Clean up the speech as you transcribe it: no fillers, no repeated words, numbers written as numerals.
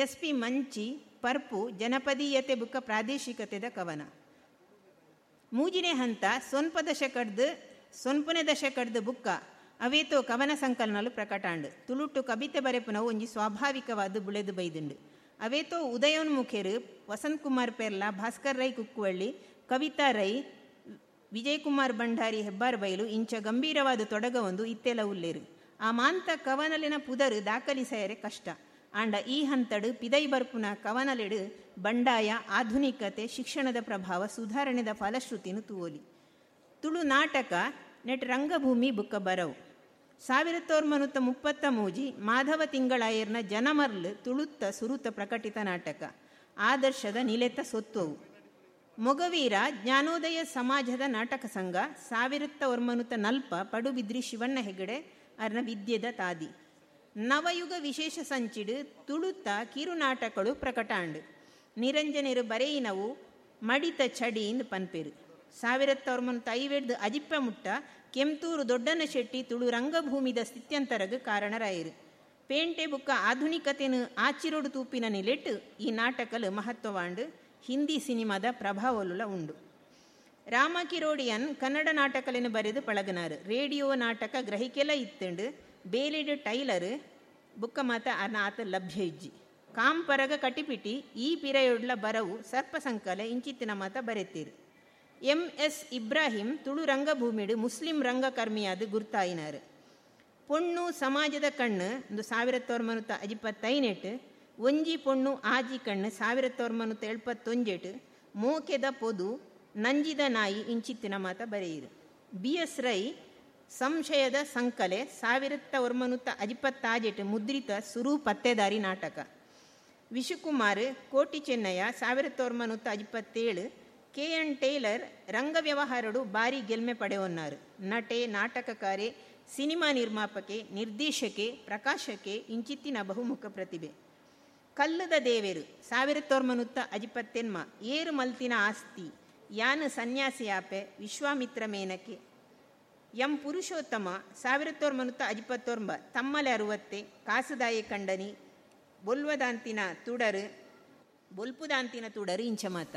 S P ಮಂಚಿ ಪರ್ಪು ಜನಪದೀಯತೆ ಬುಕ್ಕ ಪ್ರಾದೇಶಿಕತೆದ ಕವನ. ಮೂಜಿನೇ ಹಂತ ಸೊನ್ಪ ದಶಕಡ್ದು ಸೊನ್ಪನೆ ದಶಕಡ್ದು ಬುಕ್ಕ ಅವೇತೋ ಕವನ ಸಂಕಲನಲು ಪ್ರಕಟಾಂಡು. ತುಳುಟ್ಟು ಕಬಿತೆ ಬರೆಪುನವು ಒಂಜಿ ಸ್ವಾಭಾವಿಕವಾದ ಬುಳೆದು ಬೈದುಂಡು. ಅವೇತೋ ಉದಯೋನ್ಮುಖೆರು ವಸಂತ್ ಕುಮಾರ್ ಪೆರ್ಲಾ, ಭಾಸ್ಕರ್ ರೈ ಕುಕ್ಕುವಳ್ಳಿ, ಕವಿತಾ ರೈ, ವಿಜಯಕುಮಾರ್ ಭಂಡಾರಿ ಹೆಬ್ಬಾರ್ ಬೈಲು ಇಂಚ ಗಂಭೀರವಾದ ತೊಡಗ ಒಂದು ಇತ್ತೆಲ ಉಲ್ಲೇರು. ಆ ಮಾಂತ ಕವನಲಿನ ಪುದರು ದಾಖಲಿಸಯರೆ ಕಷ್ಟ. ಆಂಡ ಈ ಹಂತಡು ಪಿದೈ ಬರ್ಪುನ ಕವನಲೆಡು ಬಂಡಾಯ, ಆಧುನಿಕತೆ, ಶಿಕ್ಷಣದ ಪ್ರಭಾವ, ಸುಧಾರಣೆದ ಫಲಶ್ರುತಿನು ತೂವೊಲಿ. ತುಳು ನಾಟಕ ನೆಟ್ ರಂಗಭೂಮಿ ಬುಕ್ಕ ಬರವು. 1933 ಮಾಧವ ತಿಂಗಳಾಯರ್ನ ಜನಮರ್ಲ್ ತುಳುತ್ತ ಸುರುತ ಪ್ರಕಟಿತ ನಾಟಕ ಆದರ್ಶದ ನಿಲೆತ ಸೊತ್ತುವು. ಮೊಗವೀರ ಜ್ಞಾನೋದಯ ಸಮಾಜದ ನಾಟಕ ಸಂಘ 1940 ಪಡುಬಿದ್ರಿ ಶಿವಣ್ಣ ಹೆಗಡೆ ಅರ್ನ ವಿದ್ಯೆದ ತಾದಿ. ನವಯುಗ ವಿಶೇಷ ಸಂಚಿಡು ತುಳುತ್ತ ಕಿರುನಾಟಕಗಳು ಪ್ರಕಟಾಂಡು. ನಿರಂಜನೆರು ಬರೆಯಿನವು ಮಡಿತ ಚಡಿ ಇಂದು ಪನ್ಪೇರು. 1957 ಅಜಿಪ್ಪ ಮುಟ್ಟ ಕೆಂತೂರು ದೊಡ್ಡನ ಶೆಟ್ಟಿ ತುಳು ರಂಗಭೂಮಿದ ಸ್ಥಿತ್ಯಂತರಗ್ ಕಾರಣರಾಯಿರು. ಪೇಂಟೆ ಬುಕ್ಕ ಆಧುನಿಕತೆನು ಆಚಿರೋಡು ತೂಪಿನ ನಿಲೆಟ್ಟು ಈ ನಾಟಕಲು ಮಹತ್ವವಾಂಡು. ಹಿಂದಿ ಸಿನಿಮಾದ ಪ್ರಭಾವಲುಲ ಉಂಡು. ರಾಮ ಕಿರೋಡಿಯನ್ ಕನ್ನಡ ನಾಟಕಲೆನು ಬರೆದು ಪಳಗನಾರು. ರೇಡಿಯೋ ನಾಟಕ ಗ್ರಹಿಕೆಲ ಇತ್ತುಂಡು. ಬೇಲಿಡು ಟೈಲರ್ ಬುಕ್ಕ ಮಾತ ಆತ ಲಭ್ಯ ಇಜ್ಜಿ. ಕಾಂಪರಗ ಕಟಿಪಿಟಿ ಈ ಪಿರಯೊಡ್ಲ ಬರವು ಸರ್ಪ ಸಂಕಲೆ ಇಂಚಿತ್ತಿನ ಮಾತ ಬರೆತೀರು. ಎಂ ಎಸ್ ಇಬ್ರಾಹಿಂ ತುಳು ರಂಗಭೂಮಿಡು ಮುಸ್ಲಿಂ ರಂಗಕರ್ಮಿಯಾದ ಗುರ್ತಾಯಿನಾರು. ಪೊಣ್ಣು ಸಮಾಜದ ಕಣ್ಣು ಒಂದು 1958, ಒಂಜಿ ಪೊಣ್ಣು ಆಜಿ ಕಣ್ಣು 1971, ಮೋಕೆದ ಪೊದು ನಂಜಿದ ನಾಯಿ ಇಂಚಿತ್ತಿನ ಮಾತ ಬರೆಯಿರು. ಬಿ ಎಸ್ ರೈ ಸಂಶಯದ ಸಂಕಲೆ 1956 ಮುದ್ರಿತ ಸುರು ಪತ್ತೆದಾರಿ ನಾಟಕ. ವಿಶುಕುಮಾರ್ ಕೋಟಿ ಚೆನ್ನಯ್ಯ 1957, ಕೆ ಎನ್ ಟೇಲರ್ ರಂಗ ವ್ಯವಹಾರಡು ಬಾರಿ ಗೆಲ್ಮೆ ಪಡೆಯೊನ್ನಾರು. ನಟೆ, ನಾಟಕಕಾರೆ, ಸಿನಿಮಾ ನಿರ್ಮಾಪಕೆ, ನಿರ್ದೇಶಕೆ, ಪ್ರಕಾಶಕೆ ಇಂಚಿತ್ತಿನ ಬಹುಮುಖ ಪ್ರತಿಭೆ. ಕಲ್ಲದ ದೇವೇರು 1958, ಏರು ಮಲ್ತಿನ ಆಸ್ತಿ, ಯಾನು ಸನ್ಯಾಸಿಯಾಪೆ, ವಿಶ್ವಾಮಿತ್ರ ಮೇನಕೆ. ಎಂ ಪುರುಷೋತ್ತಮ 1959, ತಮ್ಮಲೆ ಅರುವತ್ತೆ, ಕಾಸುದಾಯಿ ಕಂಡನಿ, ಬೊಲ್ವದಾಂತಿನ ತುಡರು, ಬೊಲ್ಪುದಾಂತಿನ ತುಡರು ಇಂಚಮಾತ.